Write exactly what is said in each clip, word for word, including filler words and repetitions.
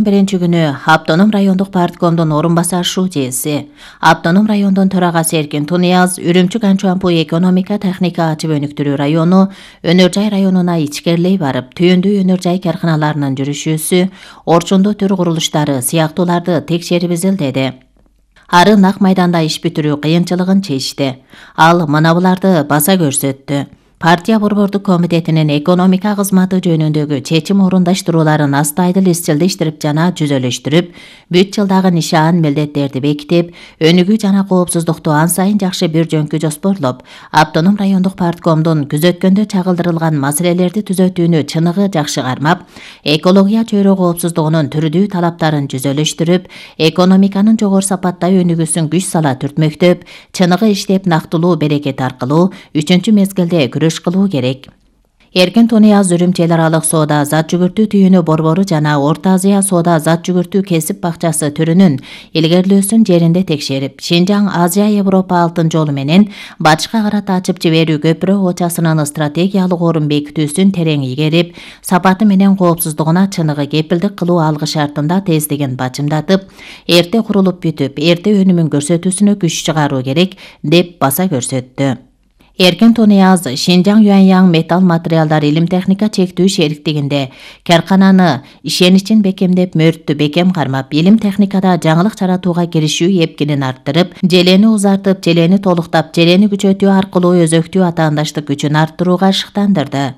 Биринчи күнү Автоном райондук парткомдун орун басар шуужээси, Автоном райондун төрагасы Эркин Тунияз, Үрүмчү-Канчуампу экономика техника ачып өнүктүрүү району, Өнөр жай районуна ичкерилей барып, түйүндүү өнөр жай карканаларынын жүрүшүүсү, орчундуу төр курулуштары сыяктууларды текшерип изилдеди. Ары нак майданда иш бүтүрүү кыйынчылыгын чечти. Ал мына буларды баса көрсөттү. Партия борбордук комитетинин экономика кызматы жөнүндөгү чечим орундаштырууларын астайдыл изчилдештирип жана жүзөлөштүрүп, бүт жылдагы нишан милдеттерди бекитип, өнүгүү жана коопсуздукту ан сайын жакшы бир жөнкү жоспорлоп, Автоном райондук парткомдун күзөткөндө чагылдырылган маселелерди түзөтүүнү чыныгы жакшы кармап, экология чөйрө коопсуздугунун түрдүү талаптарын жүзөлөштүрүп, экономиканын жогору сапаттай өнүгүүсүн күч сала түртмөктөп, чыныгы иштеп нактылуу берекет аркылуу үчүнчү мезгилде кылуу керек. Эркин Тунияз Үрүмчү эл аралык соода зат жүгүртүү түйүнү борбору жана Орто Азия соода зат жүгүртүү кесип бакчасы түрүнүн илгерилөөсүн жеринде текшерип, Шинжаң Азия Европа алтын жолу менен батышка карата ачып жиберүү көпүрө очасынын стратегиялык орун бекитүүсүн терең игерип, сапаты менен коопсуздугуна чыныгы кепилдик кылуу алгы шартында тездигин бачымдатып, эрте курулуп бүтүп, эрте өнүмүн көрсөтүүсүнө күч чыгаруу керек деп баса көрсөттү. Эркин Тунияз Шинжаң Юаньяң металл материалдар илим техника чектүү шериктигинде каркананы ишеничин бекемдеп, мөрттү бекем кармап, илим техникада жаңылык жаратууга киришүү эпкинин арттырып, желени узартып, желени толуктап, желени күчөтүү аркылуу өзөктүү атаандаштык күчүн арттырууга шыктандырды.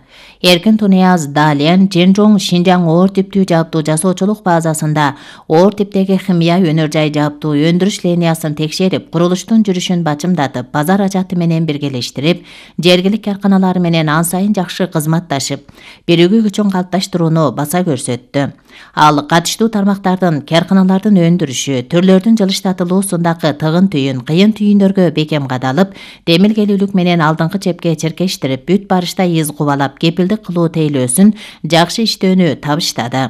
Эркин Тунияз Дален Жэнжоң Шинжаң оор типтүү жааптуу жасоочулук базасында оор типтеги химия өнөр жай жааптуу өндүрүш линиясын текшерип, курулуштун жүрүшүн бачымдатып, базар ажаты менен биргелештирип, жергилик карканалар менен ан сайын жакшы кызматташып, биригүү күчүн калыпташтырууну баса көрсөттү. Ал катыштуу тармактардын, карканалардын өндүрүшү, түрлөрдүн жылыштатылуусундагы тыгын түйүн, кыйын түйүндөргө бекем кадалып, демилгелүүлүк менен алдыңкы чепке черкештирип, бүт барышта из кубалап, кепилдик кылуу тейлөөсүн жакшы иштөөнү табыштады.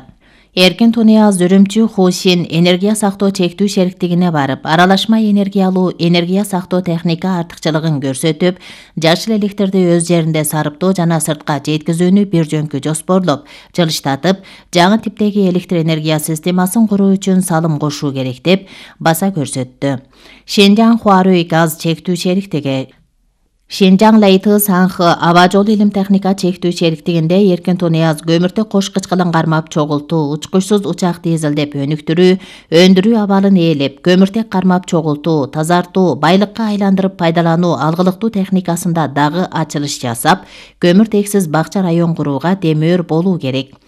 Эркин Тунияз Үрүмчү Хусин энергия сактоо чектүү шериктигине барып, аралашма энергиялуу энергия сактоо техника артыкчылыгын көрсөтүп, жашыл электрди өз жеринде сарыптоо жана сыртка жеткизүүнү бир жөнкү жоспорлоп, жылыштатып, жаңы типтеги электр энергия системасын куруу үчүн салым кошуу керек деп баса көрсөттү. Шинжаң Хуарүй газ чектүү шериктиги Шинжаң Лайты Санхы аба жолу илим техника чектүү шериктигинде Эркин Тунияз көмүртөк кош кычкылын кармап чогултуу, учкучсуз учак дизелдеп өнүктүрүү, өндүрүү абалын ээлеп, көмүртек кармап чогултуу, тазартуу, байлыкка айландырып пайдалануу алгылыктуу техникасында дагы ачылыш жасап, көмүртексиз бакча район курууга демөөр болуу керек.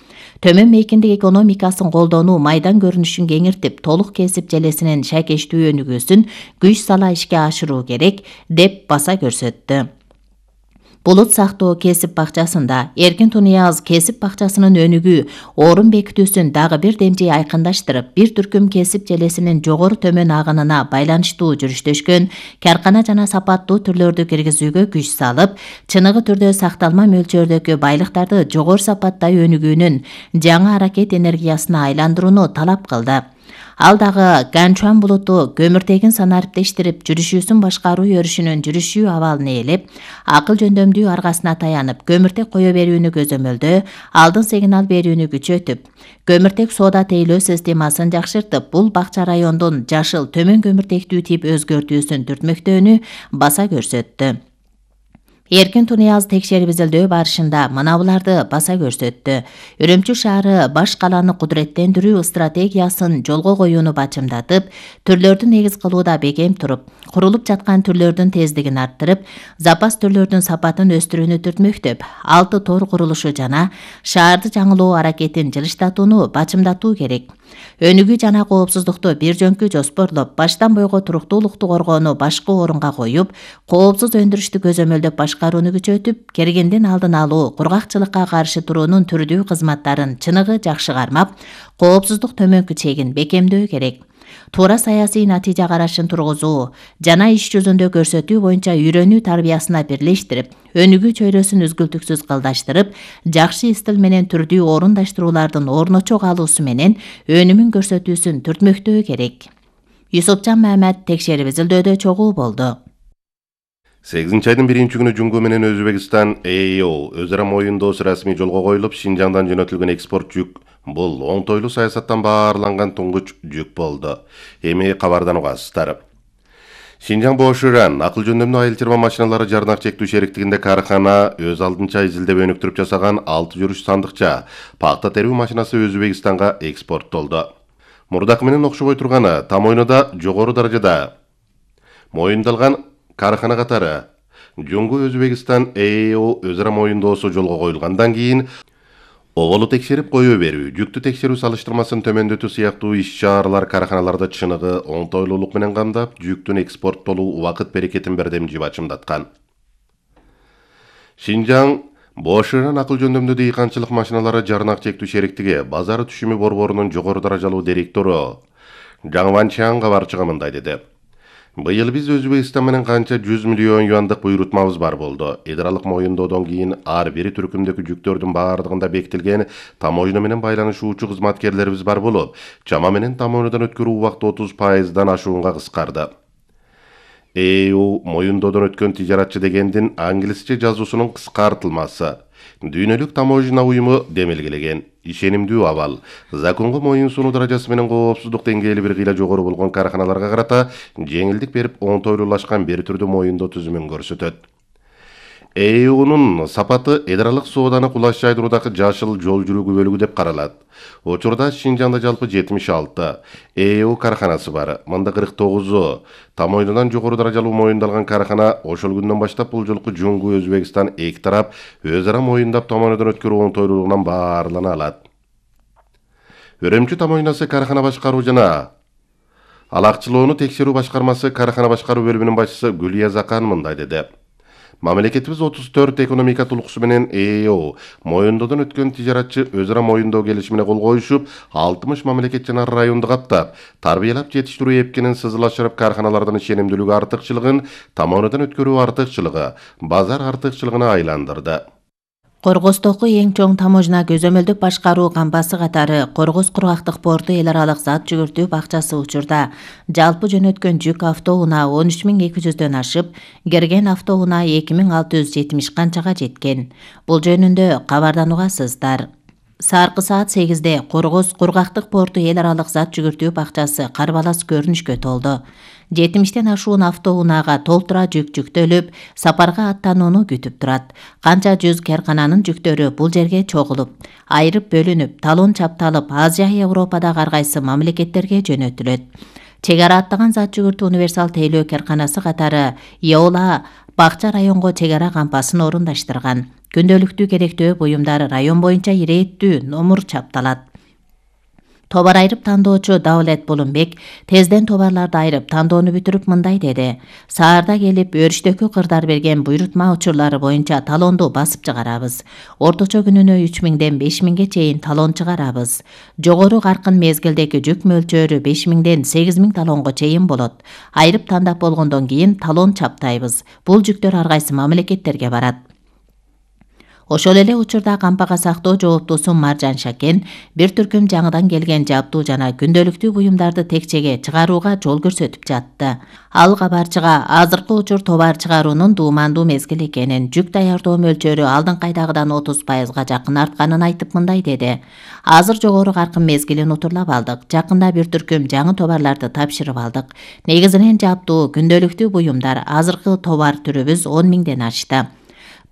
Төмөн мейкиндик экономикасын колдонуу майдан көрүнүшүн кеңиртип, толук кесип желесинин шакештүү өнүгүүсүн күч сала ишке ашыруу керек деп баса көрсөттү. Булут сактоо кесип бакчасында Эркин Тунияз кесип бакчасынын өнүгүү, орун бекитүүсүн дагы бир демжей айкындаштырып, бир түркүм кесип желесинин жогору төмөн агынына байланыштуу жүрүштөшкөн каркана жана сапаттуу түрлөрдү киргизүүгө күч салып, чыныгы түрдө сакталма мөлчөрдөгү байлыктарды жогору сапаттай өнүгүүнүн жаңы аракет энергиясына айландырууну талап кылды. Ал дагы Ганчуан булуту көмүртегин санариптештирип, жүрүшүүсүн башкаруу өрүшүнүн жүрүшүү абалын ээлеп, акыл жөндөмдүү аргасына таянып, көмүртек кое берүүнү көзөмөлдөө, алдын сигнал берүүнү күчөтүп, көмүртек соода тейлөө системасын жакшыртып, бул бакча райондун жашыл төмөн көмүртектүү тип өзгөртүүсүн түртмөктөөнү баса көрсөттү. Эркин Тунияз текшерип изилдөө барышында мына буларды баса көрсөттү. Үрүмчү шаары баш каланы кудуреттендирүү стратегиясын жолго коюуну бачымдатып, түрлөрдү негиз кылууда бекем туруп, курулуп жаткан түрлөрдүн тездигин арттырып, запас түрлөрдүн сапатын өстүрүүнү түртмөктөп, алты тор курулушу жана шаарды жаңылоо аракетин жылыштатууну бачымдатуу керек. Өнүгүү жана коопсуздукту бир жөнкү жоспорлоп, баштан бойго туруктуулукту коргоону башкы орунга коюп, коопсуз өндүрүштү көзөмөлдөп башкарууну күчөтүп, кергендин алдын алуу, кургакчылыкка каршы туруунун түрдүү кызматтарын чыныгы жакшы кармап, коопсуздук төмөнкү чегин бекемдөө керек. Туура саясий натыйжа карашын тургузуу жана иш жүзүндө көрсөтүү боюнча үйрөнүү тарбиясына бирлештирип, өнүгүү чөйрөсүн үзгүлтүксүз кылдаштырып, жакшы стил менен түрдүү орундаштыруулардын орночо калуусу менен өнүмүн көрсөтүүсүн түртмөктөө керек. Юсупжан Мамат текшерип изилдөөдө чогуу болду. сегизинчи айдын биринчи күнү Жунгу менен Өзбекстан Э И О өз ара моюндоосу расмий жолго коюлуп, Шинжаңдан жөнөтүлгөн экспорт жүк Бул оңтойлуу саясаттан баарланган туңгуч жүк болду. Эми кабардан угасыздар. Шинжаң Боширан акыл жөндөмдүү айыл чарба машиналары жарнак чектүү шериктигинде кархана өз алдынча изилдеп өнүктүрүп жасаган алты жүрүш сандыкча пакта терүү машинасы Өзбекстанга экспорттолду. Мурдакы менен окшобой турганы там ойнуда жогору даражада моюндалган кархана катары Жуңгу Өзбекстан Э Э О өзара моюндоосу жолго коюлгандан кийин оголу текшерип кое берүү, жүктү текшерүү салыштырмасын төмөндөтүү сыяктуу иш-чаралар карханаларда чыныгы, оңтойлуулук менен камдап, жүктүн экспорттолуу убакыт берекетин бердемжи бачымдаткан. Шинжаң Боширан акыл жөндөмдүү дыйканчылык машиналары жарнак чектүү шериктиги базар түшүмү борборунун жогору даражалуу директору Жаң Ванчан кабарчыга мындай деди. Быйыл биз Өзбекстан менен канча жүз миллион юандык буйрутмабыз бар болду. Эдралык моюндоодон кийин ар бир түркүмдөгү жүктөрдүн баардыгында бекитилген тамойно менен байланышуучу кызматкерлерибиз бар болуп, чама менен тамойнодон өткөрүү убакыты отуз пайыздан ашуунга кыскарды. Э Э О моюндоодон өткөн тижаратчы дегендин англисче жазуусунун кыскартылмасы. Дүйнөлүк таможня уюму демилгелеген. Ишенимдүү абал. Законго моюн сунуу даражасы менен коопсуздук деңгээли бир кыйла жогору болгон карханаларга карата жеңилдик берип, оңтойлуулашкан бир түрдүү моюндоо түзүмүн көрсөтөт. Э Э О'нун сапаты эдралык сооданы кулаш жайдыруудагы жашыл жол жүрүүгү бөлүгү деп каралат. Учурда Шинжаңда жалпы жетимиш алты Э Э О карханасы бар. Мында кырк тогузу тамойнудан жогору даражалуу моюндалган кархана. Ошол күндөн баштап бул жолку Жуңгу Өзбекстан эки тарап өзара моюндап тамойнодон өткөрүү оңтойлуулугунан баарлана алат. Өрөмчү тамойнасы кархана башкаруу жана алакчылоону текшерүү башкармасы кархана башкаруу бөлүмүнүн башчысы Гүлия Закан мындай деди. Мамлекетибиз отуз төрт экономика тулкусу менен Э Э О моюндоодон өткөн тижаратчы өзара моюндоо келишимине кол коюшуп, алтымыш мамлекет жана районду каптап, тарбиялап жетиштирүү эпкенин сызылашырып, карханалардын ишенимдүүлүгү артыкчылыгын тамойнодон өткөрүү артыкчылыгы, базар артыкчылыгына айландырды. Коргостогу эң чоң таможня көзөмөлдүк башкаруу кампасы катары Коргоз кургактык порту эл аралык зат жүгүртүү бакчасы учурда жалпы жөнөткөн жүк автоунаа он үч миң эки жүздөн ашып, кирген автоунаа эки миң алты жүз жетимиш канчага жеткен. Бул жөнүндө кабардан угасыздар. Саркы саат сегизде Коргоз кургактык порту эл аралык зат жүгүртүү бакчасы карбалас көрүнүшкө толду. жетимиштен ашуун автоунаага толтура жүк жүктөлүп, сапарга аттанууну күтүп турат. Канча жүз кархананын жүктөрү бул жерге чогулуп, айрып бөлүнүп, талон чапталып, Азия, Европадагы ар кайсы мамлекеттерге жөнөтүлөт. Чек ара аттаган зат жүгүртүү универсал тейлөө карханасы катары Еола Бакча районго чек ара кампасын орундаштырган. Күндөлүктүү керектөө буюмдар район боюнча ирээттүү номур чапталат. Товар айрып тандоочу Давлет Булунбек тезден товарларды айрып тандоону бүтүрүп мындай деди. Саарда келип өрүштөккө кырдар берген буйрутма учурлары боюнча талонду басып чыгарабыз. Орточо күнүнө үч миңден беш миңге чейин талон чыгарабыз. Жогору каркын мезгилдеги жүк мөлчөрү беш миңден сегиз миң талонго чейин болот. Айрып тандап болгондон кийин талон чаптайбыз. Бул жүктөр ар кайсы мамлекеттерге барат. Ошол эле учурда кампага сактоо жооптуусу Маржан Шакен бир түркүм жаңыдан келген жабдуу жана күндөлүктүү буюмдарды текчеге чыгарууга жол көрсөтүп жатты. Ал кабарчыга азыркы учур товар чыгаруунун дуумандуу мезгил экенин, жүк даярдоо мөлчөрү алдыңкайдагыдан отуз пайызга жакын артканын айтып мындай деди. Азыр жогору каркын мезгилин утурлап алдык. Жакында бир түркүм жаңы товарларды тапшырып алдык. Негизинен жабдуу, күндөлүктүү буюмдар, азыркы товар түрүбүз он миңден ашты.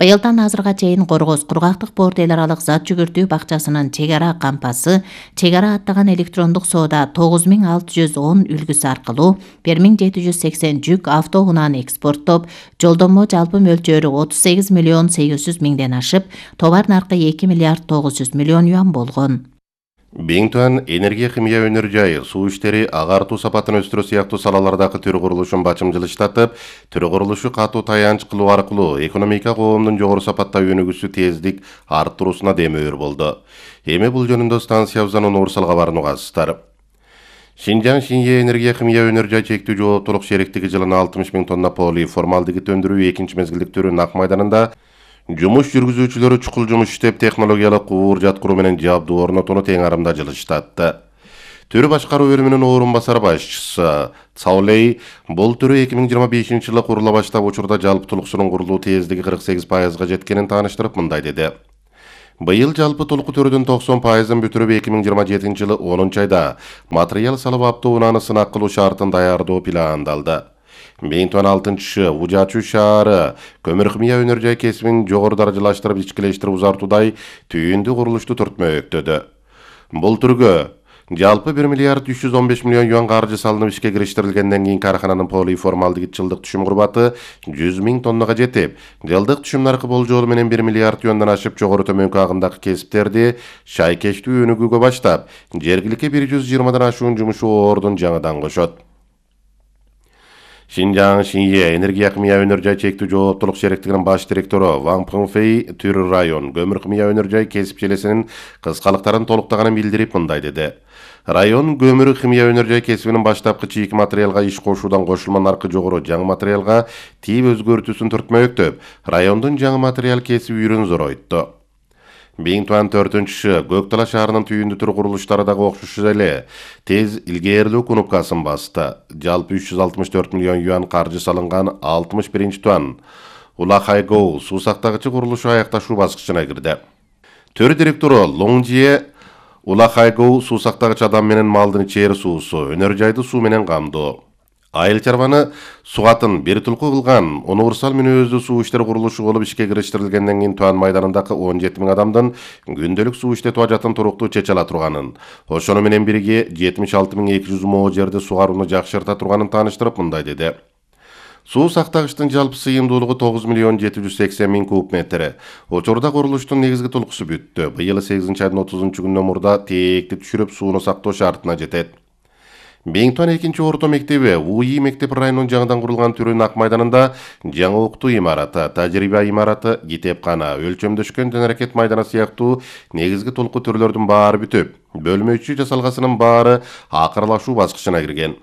Быйылдан азырга чейин Коргоз кургактык порту эл аралык зат жүгүртүү бакчасынын чек ара кампасы чек ара аттаган электрондук соода тогуз миң алты жүз он үлгүсү аркылуу бир миң жети жүз сексен жүк автоунааны экспорттоп, жолдомо жалпы мөлчөрү отуз сегиз миллион сегиз жүз миңден ашып, товар наркы эки миллиард тогуз жүз миллион юан болгон. Биңтуан энергия химия өнөр жайы, суу иштери, агартуу сапатын өстүрүү сыяктуу салалардагы төр курулушун бачымжылыштатып, төр курулушу катуу таянч кылуу аркылуу экономика коомдун жогору сапатта өнүгүүсү тездик арттыруусуна демөөр болду. Эми бул жөнүндө станциябыздан универсал кабарын угасыздар. Шинжаң Шинье энергия химия өнөр жай чектүү жооптулук шериктиги жылына алтымыш миң тонна полиформалдегид өндүрүү экинчи мезгилдик түрү Нак майданында жумуш жүргүзүүчүлөрү чукул жумуш иштеп, технологиялык уур жаткыруу менен жабдуу орнотууну тең арымда жылыштатты. Төр башкаруу бөлүмүнүн орун басар башчысы Цаулей бул түрү эки миң жыйырма бешинчи жылы курула баштап, учурда жалпы тулуксунун курулуу тездиги кырк сегиз пайызга жеткенин тааныштырып мындай деди. Быйыл жалпы толуку төрүдөн токсон пайызын бүтүрүп эки миң жыйырма жетинчи жылы онунчу айда материал салып автоунааны сынак кылуу шартын даярдоо пландалды. эки миң он алтынчы Ужачу шаары көмүр-химия өнөр жай кесибин жогору даражалаштырып ичкилештирип узартуудай түйүндүү курулушту түртмөктөдө. Бул түргө жалпы бир миллиард үч жүз он беш миллион юан каржы салынып ишке кириштирилгенден кийин кархананын полиформалдегид жылдык түшүм курбаты жүз миң тоннага жетип, жылдык түшүм наркы болжолу менен бир миллиард юандан ашып жогору төмөнкү агымдагы кесиптерди шайкештүү өнүгүүгө баштап, жергиликке бир жүз жыйырмадан ашуун жумуш ордун жаңадан кошот. Шинжаң Шинье энергия-химия өнөр жай чектүү жооптулук шериктигинин баш директору Ван Пыңфей Түр район көмүр-химия өнөр жай кесип желесинин кыскалыктарын толуктаганын билдирип мындай деди. Район көмүр-химия өнөр жай кесибинин баштапкы чийки материалга иш кошуудан кошулма наркы жогору жаңы материалга тийип өзгөртүүсүн түртмөктөп, райондун жаңы материал кесип үйрүн зоройтtu. эки миң он төртүнчү Көк Дала шаарынын түйүндүү түр курулуштары дагы окшош эле тез илгээрлөө кнопкасын басты. Жалпы үч жүз алтымыш төрт миллион юан каржы салынган алтымыш биринчи туан Улахайгоу суу сактагычы курулушу аякташуу баскычына кирди. Төр директору Лоңжие Улахайгоу суу сактагыч адам менен малдын ичери суусу, өнөр жайды суу менен камдоо. Айыл чарбаны сугатын бир тулку кылган универсал мүнөздүү суу иштер курулушу болуп ишке кириштирилгенден кийин Туан майданындагы он жети миң адамдын күндөлүк суу иштетүү ажатын туруктуу чече ала турганын, ошону менен бирге жетимиш алты миң эки жүз мо жерди сугарууну жакшырта турганын тааныштырып мындай деди. Суу сактагычтын жалпы сыйымдуулугу тогуз миллион жети жүз сексен миң куб метр. Учурда курулуштун негизги толкусу бүттү. Быйыл сегизинчи айдын отузунчу күнүнөн мурда тээкти түшүрүп сууну сактоо шартына жетет. эки миң он экинчи орто мектеби УИ мектеп районунун жаңыдан курулган түрүнүн Ак майданында жаңы окутуу имараты, тажрыйба имараты, китепкана, өлчөмдөшкөн тен-аракет майданы сыяктуу негизги толку түрлөрдүн баары бүтүп, бөлмө ичи жасалгасынын баары акырылашуу баскычына кирген.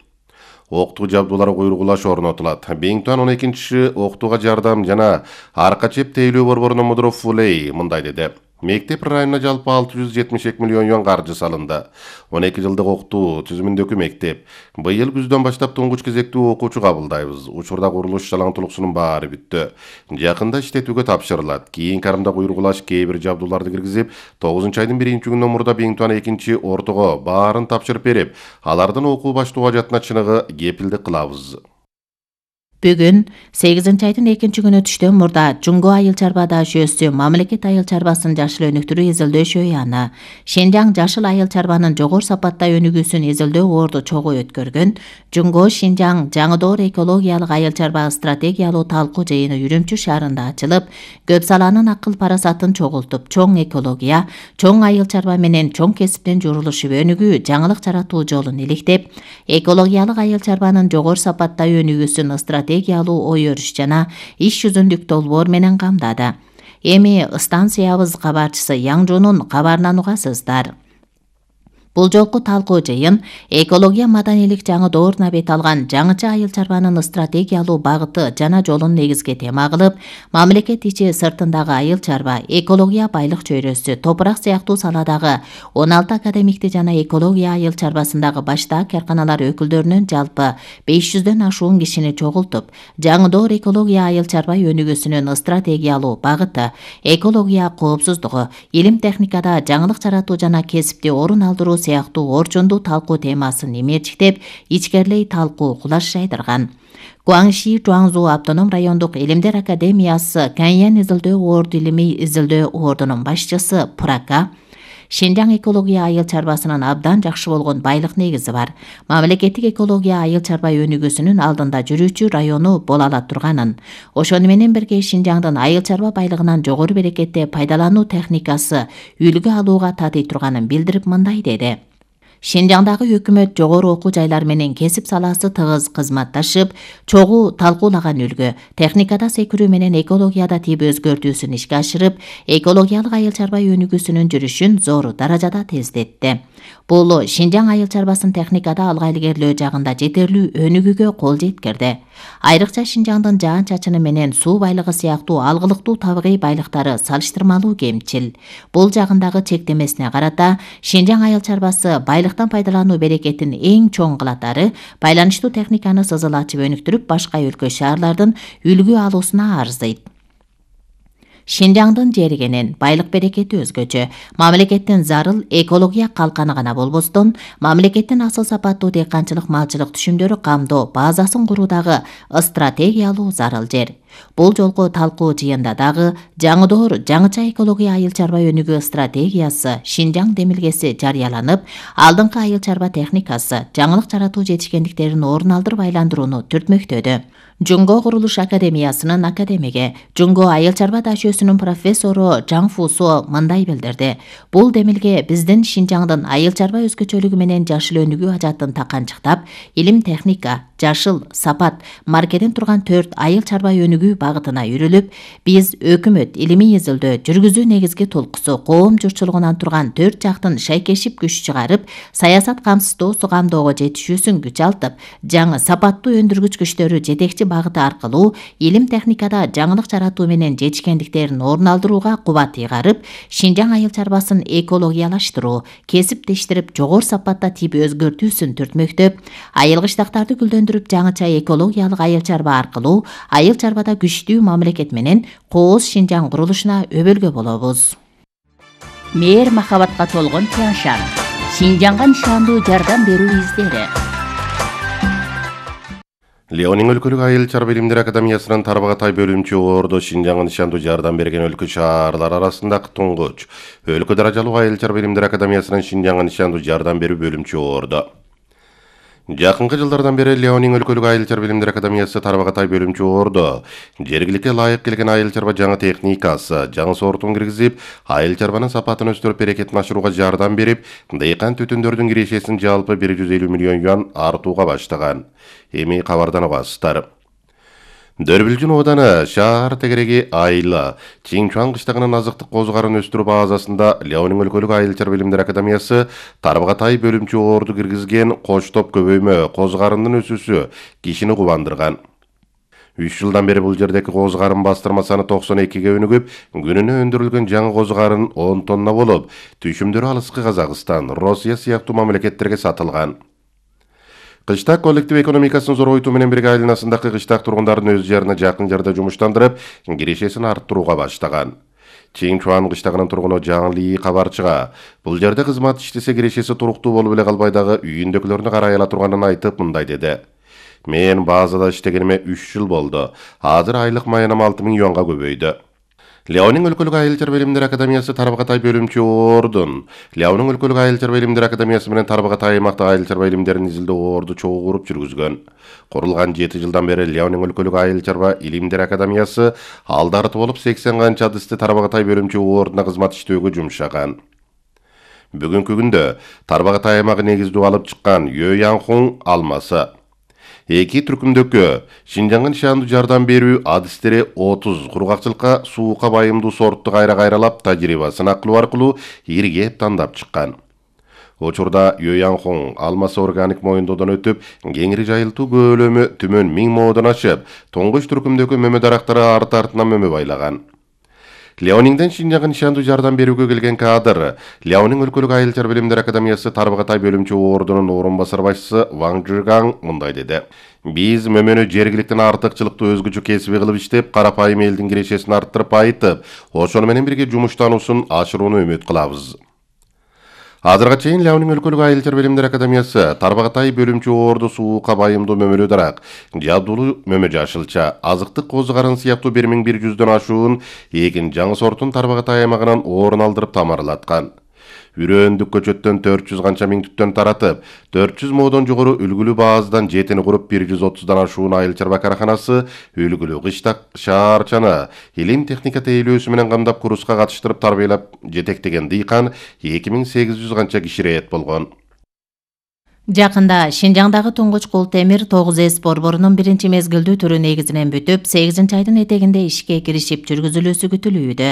Окутуу жабдуулары куйругулаш орнотулат. эки миң он экинчи окутууга жардам жана арка чеп тейлөө борборунун мудуру Фулей мындай деди. Мектеп районуна жалпы алты жүз жетимиш эки миллион юан каржы салынды. он эки жылдык окутуу түзүмүндөгү мектеп. Быйыл күздөн баштап туңгуч кезектүү окуучу кабылдайбыз. Учурда курулуш жалаңтулуксунун баары бүттү. Жакында иштетүүгө тапшырылат. Кийинки арымда куйругулаш кээ бир жабдууларды киргизип, тогузунчу айдын биринчи күнүнөн мурда эки миң он экинчи ортого баарын тапшырып берип, алардын окуу баштоо ажатына чыныгы кепилдик кылабыз. Бүгүн сегизинчи айдын экинчи күнү түштөн мурда Жуңго айыл чарба даашөсү мамлекет айыл чарбасын жашыл өнүктүрүү изилдөө аяны Шинжаң жашыл айыл чарбанын жогору сапатта өнүгүүсүн изилдөө орду чогуу өткөргөн Жуңго Шинжаң жаңыдоор экологиялык айыл чарба стратегиялуу талкуу жыйыны Үрүмчү шаарында ачылып, көп саланын акыл парасатын чогултуп, чоң экология, чоң айыл чарба менен чоң кесиптен журулушуп өнүгүү, жаңылык жаратуу жолун иликтеп, экологиялык айыл чарбанын жогору сапатта өнүгүүсүн стратегиялуу ой өрүш жана иш жүзүндүк долбоор менен камдады. Эми станциябыз кабарчысы Яңжунун кабарынан угасыздар. Бул жолку талкуу жыйын экология маданийлик жаңы дооруна бет алган жаңыча айыл чарбанын стратегиялуу багыты жана жолун негизги тема кылып, мамлекет ичи сыртындагы айыл чарба, экология байлык чөйрөсү, топурак сыяктуу саладагы он алты академикти жана экология айыл чарбасындагы баштаак карканалар өкүлдөрүнөн жалпы беш жүздөн ашуун кишини чогултуп, жаңыдоор экология айыл чарба өнүгүүсүнүн стратегиялуу багыты, экология коопсуздугу, илим техникада жаңылык жаратуу жана кесипти орун алдыруу сыяктуу орчундуу талкуу темасын имечиктеп, ичкерлей талкуу кулаш жайдырган. Гуаңши Жуаңзу автоном райондук илимдер академиясы Каньян изилдөө орду илимий изилдөө ордунун башчысы Пурака Шинжаң экология айыл чарбасынын абдан жакшы болгон байлык негизи бар. Мамлекеттик экология айыл чарба өнүгүүсүнүн алдында жүрүүчү району боло ала турганын, ошону менен бирге Шинжаңдын айыл чарба байлыгынан жогору берекетте пайдалануу техникасы үлгү алууга татый турганын билдирип мындай деди. Шинжаңдагы өкмөт жогору окуу жайлар менен кесип саласы тыгыз кызматташып, чогуу талкуулаган үлгү, техникада секирүү менен экологияда тийип өзгөртүүсүн ишке ашырып, экологиялык айыл чарба өнүгүүсүнүн жүрүшүн зор даражада тездетти. Бул Шинжаң айыл чарбасын техникада алга илгерлөө жагында жетерлүү өнүгүүгө кол жеткирди. Айрыкча Шинжаңдын жаан-чачыны менен суу байлыгы сыяктуу алгылыктуу табигый байлыктары салыштырмалуу кемчил. Бул жагындагы чектемесине карата Шинжаң айыл чарбасы байлыктан пайдалануу берекетин эң чоң кылатары байланыштуу техниканы сызыл ачып өнүктүрүп, башка өлкө шаарлардын үлгү алуусуна арзыйт. Шинжаңдын жергенин байлык берекети өзгөчө. Мамлекеттин зарыл экология калканы гана болбостон, мамлекеттин асыл сапаттуу дыйканчылык малчылык түшүмдөрү камдоо базасын куруудагы стратегиялуу зарыл жер. Бул жолку талкуу жыйында дагы жаңы доор жаңыча экология айыл чарба өнүгүү стратегиясы Шинжаң демилгеси жарыяланып, алдыңкы айыл чарба техникасы жаңылык жаратуу жетишкендиктерин орун алдырып айландырууну түртмөктөдү. Жунго курулуш академиясынын академиги, Жунго айыл чарба дашөөсүнүн профессору Жаң Фусо мындай билдирди. Бул демилге биздин Шинжаңдын айыл чарба өзгөчөлүгү менен жашыл өнүгүү ажатын таканчыктап, илим техника, жашыл, сапат, маркеден турган төрт айыл чарба өнүгүү багытына үрүлүп, биз өкмөт илимий изилдөө жүргүзүү негизги толкусу коом журтчулугунан турган төрт жактын шайкешип күч чыгарып, саясат камсыздоосу камдоого жетишүүсүн күч алтып, жаңы сапаттуу өндүргүч күчтөрү жетекчи багыты аркылуу илим техникада жаңылык жаратуу менен жетишкендиктерин орун алдырууга кубат ыйгарып, Шинжаң айыл чарбасын экологиялаштыруу, кесиптештирип жогору сапатта тип өзгөртүүсүн түртмөктөп, айыл кыштактарды гүлдөндүрүп жаңыча экологиялык айыл чарба аркылуу айыл чарбада күчтүү мамлекет менен кооз Шинжаң курулушуна өбөлгө болобуз. Мээр махабатка толгон Тяншан. Шинжаңга нишандуу жардам берүү издери. Леонин өлкөлүк айыл чарба илимдер академиясынын Тарбагатай бөлүмчү ордо Шинжаңга нишандуу жардам берген өлкө шаарлар арасындагы туңгуч өлкө даражалуу айыл чарба илимдер академиясынын Шинжаңга нишандуу жардам берүү бөлүмчү ордо. Жакынкы жылдардан бери Леонин өлкөлүк айыл чарба илимдер академиясы Тарбагатай бөлүмчү ордо жергиликке ылайык келген айыл чарба жаңы техникасы, жаңы сортун киргизип, айыл чарбанын сапатын өстүрүп берекетин ашырууга жардам берип, дыйкан түтүндөрдүн кирешесин жалпы бир жүз элүү миллион юан артууга баштаган. Эми кабардан угасыздар. Дөрбүлжүн ооданы шаар тегереги айла Чиңчуан кыштагынын азыктык козгарын өстүрүү базасында Леонин өлкөлүк айыл чарба илимдер академиясы Тарбагатай бөлүмчү орду киргизген коч топ көбөймө козгарындын өсүүсү кишини кубандырган. үч жылдан бери бул жердеги козгарын бастырма саны токсон экиге өнүгүп, күнүнө өндүрүлгөн жаңы козгарын он тонна болуп, түшүмдөрү алыскы Казакстан, Россия сыяктуу мамлекеттерге сатылган. Кыштак коллектив экономикасын зоройтуу менен бирге айланасындагы кыштак тургундарын өз жарына жакын жарда жумуштандырып, кирешесин арттырууга баштаган. Чиңчуан кыштагынын тургуну Жаң Ли кабарчыга бул жерде кызмат иштесе кирешеси туруктуу болуп эле калбай дагы үйүндөгүлөрүнү карай ала турганын айтып мындай деди. Мен базада иштегениме үч жыл болду. Азыр айлык маянам алты миң юанга көбөйдү. Леонин өлкөлүк айыл чарба илимдер академиясы Тарбагатай бөлүмчү ордун Леонин өлкөлүк айыл чарба илимдер академиясы менен Тарбагатай аймактагы айыл чарба илимдерин изилдөө орду чогуу куруп жүргүзгөн. Курулган жети жылдан бери Леонин өлкөлүк айыл чарба илимдер академиясы алдарты болуп сексен канча адысты Тарбагатай бөлүмчү ордуна кызмат иштөөгө жумшаган. Бүгүнкү күндө Тарбагатай аймагы негиздүү алып чыккан Йоянхун алмасы эки түркүмдөгкө Шинжаңга нишандуу жардам берүү адыстери отуз кургакчылыкка суукка байымдуу сортту кайра кайралап тажрыйбасын аклоо аркылуу иргеп тандап чыккан. Учурда Йоянхун алмасы органик моюндоодон өтүп, кеңири жайылтуу көлөмү түмөн миң моодон ашып, туңгуч түркүмдөгкө мөмө дарактары арты артынан мөмө байлаган. Леонинден Шинжаңга нишандуу жардам берүүгө келген кадр Леонин өлкөлүк айыл чарба илимдер академиясы Тарбагатай бөлүмчү ордунун орун басар башчысы Ваң Жигаң мындай деди. Биз мөмөнү жергиликтен артыкчылыктуу өзгөчө кесиби кылып иштеп, карапайым элдин кирешесин арттырып айтып, ошону менен бирге жумуштануусун ашырууну үмүт кылабыз. Азырга чейин Леонин өлкөлүк айыл чарба илимдер академиясы Тарбагатай бөлүмчү орду суукка байымдуу мөмөлүү дарак, жабдуулуу мөмө жашылча, азыктык козгарын сыяктуу бир миң бир жүздөн ашуун эгин жаңы сортун Тарбагатай аймагынан орун алдырып тамарлаткан. Үрөөндүк көчөттөн төрт жүз канча миң түттөн таратып, төрт жүз моодон жогору үлгүлүү базадан жетини куруп бир жүз отуздан ашуун айыл чарба караханасы үлгүлүү кыштак шаарчаны илим техника тейлөөсү менен камдап курска катыштырып тарбиялап жетектеген дыйкан эки миң сегиз жүз канча киширет болгон. Жакында Шинжаңдагы туңгуч кул темир тогуз эс борборунун биринчи мезгилдүү түрү негизинен бүтүп, сегизинчи айдын этегинде ишке киришип жүргүзүлүүсү күтүлүүдө.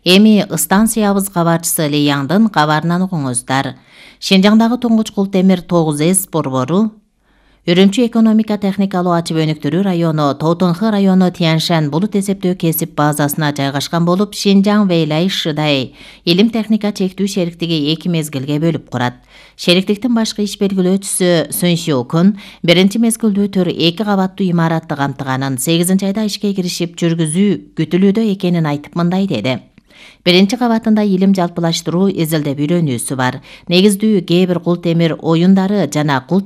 Эми станциябыз кабарчысы Ли Яңдын кабарынан угуңуздар. Шинжаңдагы туңгуч кул темир тогуз эс борбору Үрүмчү экономика техникалуу ачып өнүктүрүү району Тоутонхы району Тяньшань булут эсептөө кесип базасына жайгашкан болуп, Шинжаң Вэйлай Шыдай илим техника чектүү шериктиги эки мезгилге бөлүп курат. Шериктиктин башкы иш белгилөөчүсү Суньсюкун биринчи мезгилдүү түр эки кабаттуу имаратты камтыганын, сегизинчи айда ишке киришип жүргүзүү күтүлүүдө экенин айтып мындай деди. Биринчи кабатында илим жалпылаштыруу изилдеп үйрөнүүсү бар. Негиздүү кээ бир кул темир оюндары жана кул